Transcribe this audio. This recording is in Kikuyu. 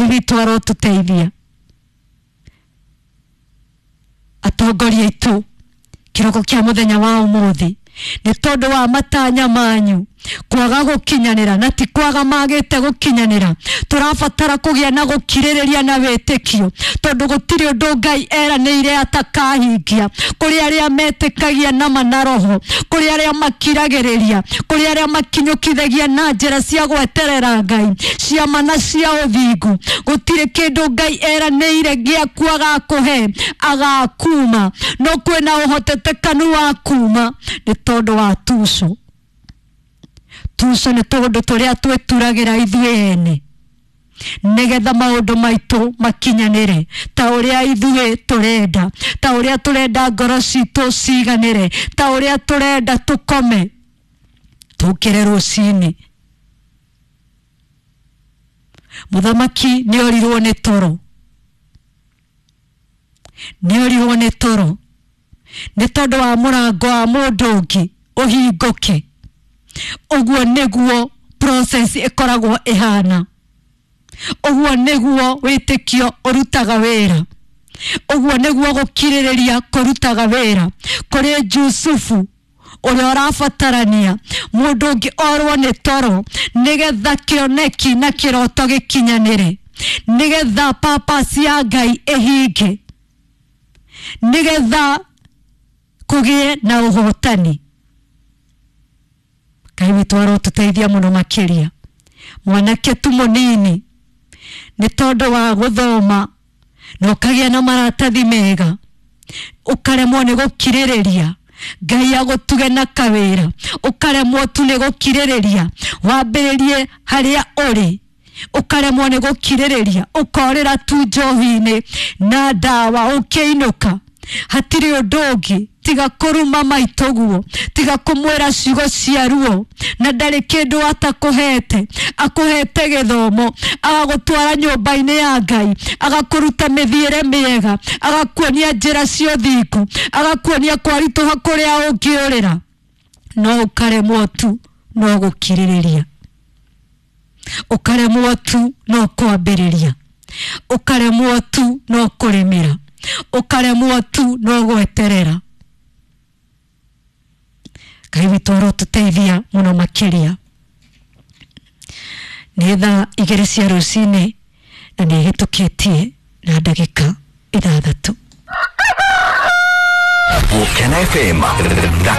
Ngai witũ arotũteithia. Atongoria aitũ kĩroko kĩa mũthenya wa ũmũthĩ, nĩ tondũ wa matanya manyu kwaga gũkinyanĩra, na ti kwaga magĩte gũkinyanĩra, tũrabatara kũgĩa na gũkirĩrĩria na wĩtĩkio, tondũ gũtirĩ ũndũ Ngai eranĩire atakahingia. Kũrĩ arĩa metĩkagia nama na roho, kũrĩ arĩa makiragĩrĩria, kũrĩ arĩa makinyũkithagia na njĩra cia gweterera Ngai, ciama na cia ũthingu. Gũtirĩ kĩndũ Ngai eranĩire gĩaku agakũhe agakuma, no kwĩna ũhotetekanu wa kuma nĩ tondũ wa tuco. Tuco nĩ tũndũ tũrĩa twĩturagĩra ithuĩ ene nĩgetha maũndũ maitũ makinyanĩre ta ũrĩa ithuĩ tũrenda, ta ũrĩa tũrenda ngoro citũ ciganĩre, ta ũrĩa tũrenda tũkome tũkĩre rũcinĩ. Mũthamaki nĩ orirwo nĩ toro, nĩ orirwo nĩ toro nĩ tondũ wa mũrango wa mũndũ ũngĩ ũhingũke. Ũguo nĩguo process ĩkoragwo ĩhana, ũguo nĩguo wĩtĩkio ũrutaga wĩra, ũguo nĩguo gũkirĩrĩria kũrutaga wĩra. Kũrĩ Jusufu ũrĩa ũrabatarania mũndũ ũngĩ orwo nĩ toro nĩgetha kĩoneki na kĩroto gĩkinyanĩre, nĩgetha purpose ya Ngai ĩhinge, nĩgetha kũgĩe na ũhotani. Ngai witũ arotũteithia mũno makĩria. Mwanake tu mũnini nĩ tondũ wa gũthoma na ũkagĩa na maratathi mega, ũkaremwo nĩ gũkirĩrĩria Ngai agũtuge na kawĩra, ũkaremwo tu nĩ gũkirĩrĩria wambĩrĩrie harĩa ũrĩ, ũkaremwo nĩ gũkirĩrĩria ũkorĩra tu njohi-inĩ na ndawa ũkĩinũka. Hatirĩ ũndũ ũngĩ tiga kũruma maitũguo, tiga kũmwĩra ciugo cia ruo, na ndarĩ kĩndũ atakũhete. Akũhete gĩthomo, agagũtwara nyũmba-inĩ ya Ngai, agakũruta mĩthiĩre mĩega, agakuonia njĩra cia ũthingu, agakuonia kwaritũha kũrĩa ũngĩũrĩra, no ũkaremwo tu no gũkirĩrĩria, ũkaremwo tu no kwambĩrĩria, ũkaremwo tu no kũrĩmĩra, ũkaremwo tu no gweterera. Ngai witũ arotũteithia mũno makĩria. Nĩ thaa 2 cia rũcinĩ na nĩ ĩhĩtũkĩtie na ndagĩka 6. Gũkena FM.